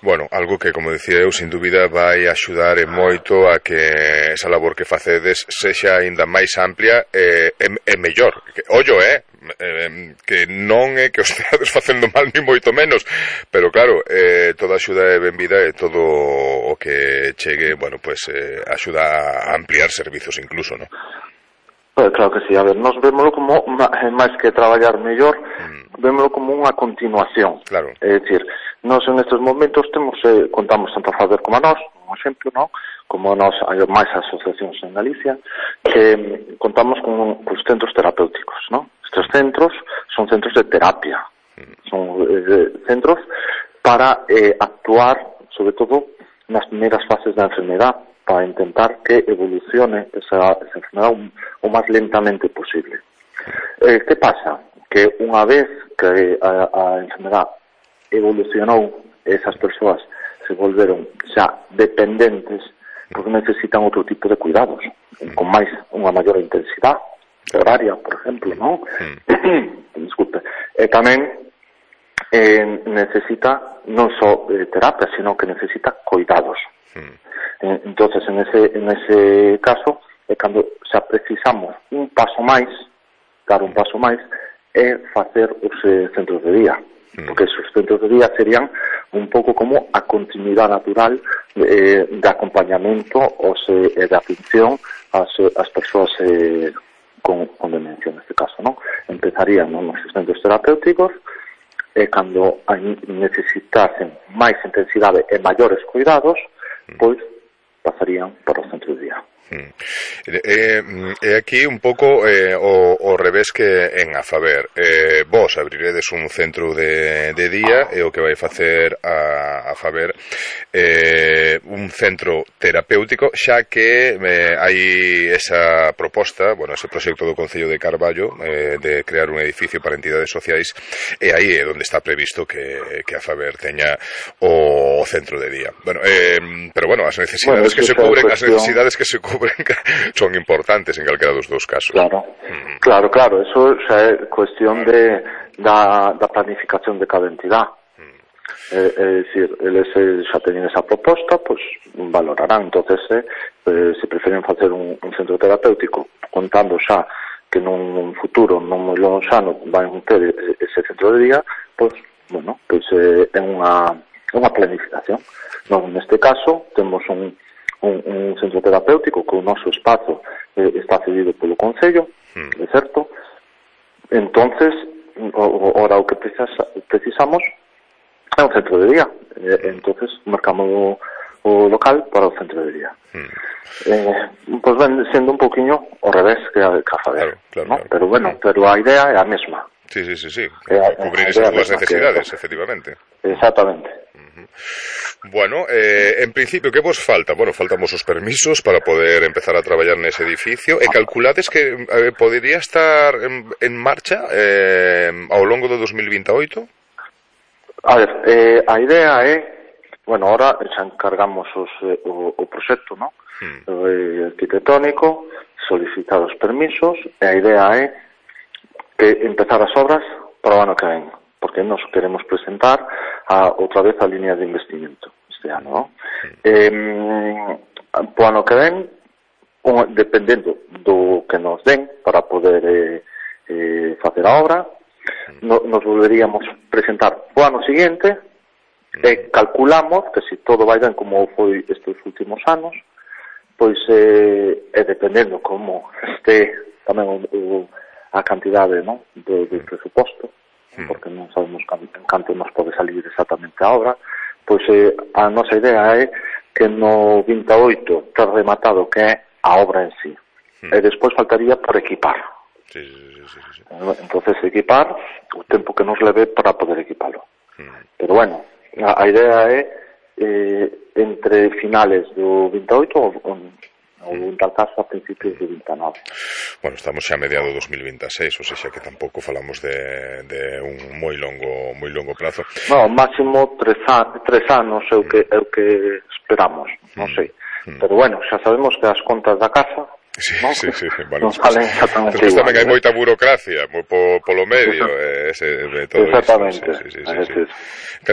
Bueno, algo que, como dicía eu, sin dúbida vai axudar e moito a que esa labor que facedes sexa aínda máis amplia e mellor. Ollo, que non é que os teades facendo mal ni moito menos, pero claro, toda axuda é benvida e todo o que chegue, bueno, pues axuda a ampliar servizos incluso, non? Claro que sí, a ver, nos vémoslo como, máis que traballar mellor, vémoslo como unha continuación. Claro. É dicir, nós en estes momentos contamos tanto a Faber como a nós, un exemplo, non? Como nós, hai máis asociacións en Galicia, que contamos con os centros terapéuticos, non? Estes centros son centros de terapia, son centros para actuar, sobre todo, nas primeiras fases da enfermedade, para intentar que evolucione esa enfermedade o máis lentamente posible. Que pasa? Que unha vez que a enfermedade evolucionou, esas persoas se volveron xa dependentes, porque necesitan outro tipo de cuidados, con unha maior intensidade horaria, por exemplo, non? Disculpe. E tamén necesita non só terapia, sino que necesita cuidados. Entonces, en ese caso, é cando xa precisamos un paso máis, dar un paso máis, é facer os centros de día. Porque esos centros de día serían un pouco como a continuidade natural de acompañamento e de atención ás persoas con demencia, neste caso, non? Empezarían nos centros terapéuticos e cando necesitasen máis intensidade e maiores cuidados, pois pasarían para o centro de día. É aquí un pouco o revés que en Afaber. Vos abriredes un centro de día e o que vai facer a Afaber un centro terapéutico, xa que hai esa proposta, bueno, ese proxecto do Concello de Carballo de crear un edificio para entidades sociais, e aí é onde está previsto que Afaber teña o centro de día. Bueno, pero bueno, as necesidades que se cubren, son importantes en calquera dos dous casos. Claro, eso xa é cuestión da planificación de cada entidade. É dicir, eles xa teñen esa proposta, pois valorarán. Entonces, se prefieren facer un centro terapéutico, contando xa que nun futuro non moi lonxano van ter ese centro de día, pois, bueno, pois é unha planificación. Neste caso, temos un centro terapéutico que o noso espazo está cedido polo Concello, é certo? Entonces, ora o que precisamos é un centro de día. Entonces, marcamos o local para o centro de día. Pois ven sendo un poquinho ao revés que a Faber, ¿no? Pero bueno, pero a idea é a mesma. Sí. Cubrir esas dúas necesidades, efectivamente. Exactamente. Bueno, en principio, que vos falta? Bueno, faltamos os permisos para poder empezar a traballar nese edificio, e calculades que podería estar en marcha ao longo do 2028? A ver, a idea é, bueno, ahora xa encargamos o proxecto, ¿no? Arquitectónico, solicitar os permisos, e a idea é que empezar as obras para o ano que ven, porque nos queremos presentar outra vez a línea de investimento este ano, ¿no? Para o ano que ven, dependendo do que nos den para poder facer a obra, nos volveríamos presentar o ano seguinte, e calculamos que se todo vai ben como foi estes últimos anos, pois dependendo como este tamén a cantidade, non, do presuposto, porque non sabemos canto nos pode salir exactamente a obra, pois a nosa idea é que no 28 ter rematado que é a obra en sí, e despois faltaría por equipar. Sí. Entonces equipar o tempo que nos leve para poder equipalo. Pero bueno, a idea é entre finales do 28 ou en tal caso a principios do 29. Bueno, estamos xa a mediados do 2026, ou seja que tampouco falamos de un moi longo plazo. No, máximo 3 anos é o que esperamos, non sei. Pero bueno, xa sabemos que as contas da casa Sí, vale, non salen exactamente igual. Tamén hai moita burocracia polo medio. Exactamente. Sí.